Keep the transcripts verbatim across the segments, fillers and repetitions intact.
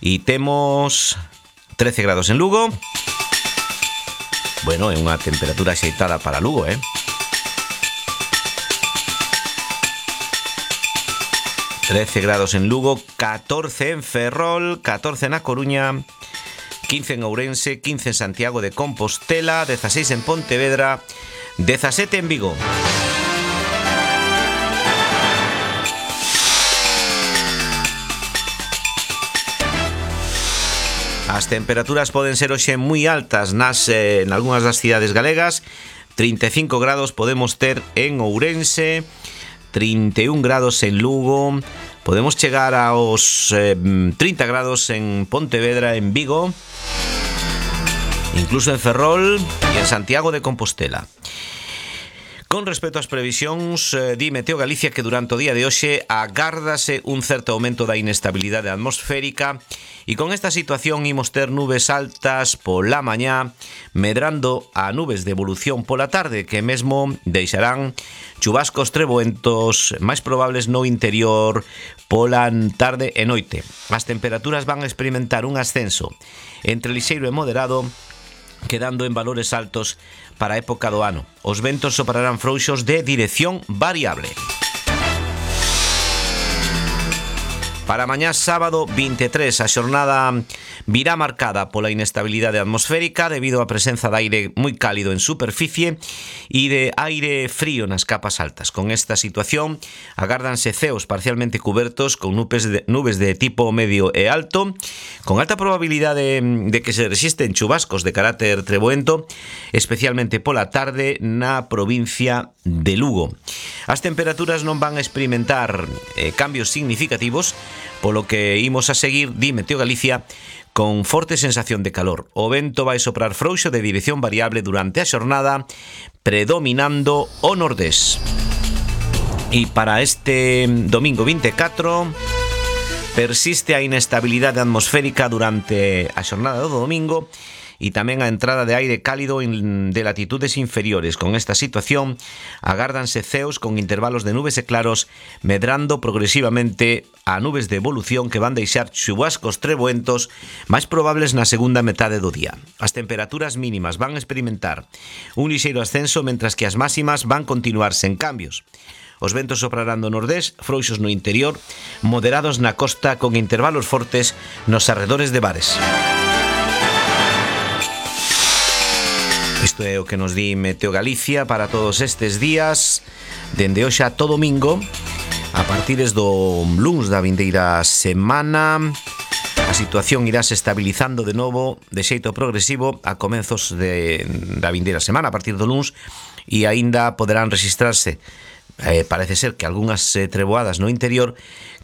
E temos trece grados en Lugo. Bueno, é unha temperatura axeitada para Lugo, eh? trece grados en Lugo, catorce en Ferrol, catorce na Coruña, quince en Ourense, quince en Santiago de Compostela, dieciséis en Pontevedra, diecisiete en Vigo. As temperaturas poden ser hoxe moi altas nas eh, en algunhas das cidades galegas. trinta e cinco grados podemos ter en Ourense, trinta e un grados en Lugo, podemos chegar aos eh, trinta grados en Pontevedra, en Vigo, incluso en Ferrol e en Santiago de Compostela. Con respecto ás previsións, eh, di Meteo Galicia que durante o día de hoxe agárdase un certo aumento da inestabilidade atmosférica e con esta situación imos ter nubes altas pola mañá, medrando a nubes de evolución pola tarde que mesmo deixarán chubascos treboentos máis probables no interior pola tarde e noite. As temperaturas van a experimentar un ascenso entre lixeiro e moderado, quedando en valores altos para a época do ano. Os ventos soprarán frouxos de dirección variable. Para mañá sábado vinte e tres, a xornada virá marcada pola inestabilidade atmosférica debido á presenza de aire moi cálido en superficie e de aire frío nas capas altas. Con esta situación agárdanse ceos parcialmente cubertos con nubes de, nubes de tipo medio e alto, con alta probabilidade de que se resisten chubascos de carácter treboento, especialmente pola tarde na provincia de Lugo. As temperaturas non van a experimentar eh, cambios significativos, polo que imos a seguir, di Meteo Galicia, con forte sensación de calor. O vento vai soprar frouxo de dirección variable durante a xornada, predominando o nordés. E para este domingo vinte e catro persiste a inestabilidade atmosférica durante a xornada do domingo e tamén a entrada de aire cálido de latitudes inferiores. Con esta situación agárdanse ceos con intervalos de nubes e claros, medrando progresivamente a nubes de evolución que van deixar chubascos treboentos máis probables na segunda metade do día. As temperaturas mínimas van a experimentar un lixeiro ascenso, mentras que as máximas van continuar sen cambios. Os ventos soprarán do nordés, frouxos no interior, moderados na costa, con intervalos fortes nos arredores de bares. Isto é o que nos di Meteo Galicia para todos estes días, dende hoxe a todo domingo, a partires do luns da vindeira semana. A situación irá se estabilizando de novo de xeito progresivo a comenzos de, da vindeira semana, a partir do luns, e aínda poderán registrarse, eh, parece ser que algunhas eh, treboadas no interior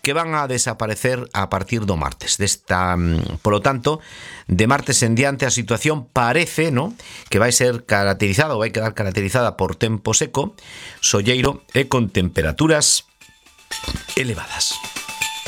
que van a desaparecer a partir do martes. Desta, polo tanto, de martes en diante a situación parece, ¿no?, que vai ser caracterizada ou vai quedar caracterizada por tempo seco, solleiro e con temperaturas elevadas.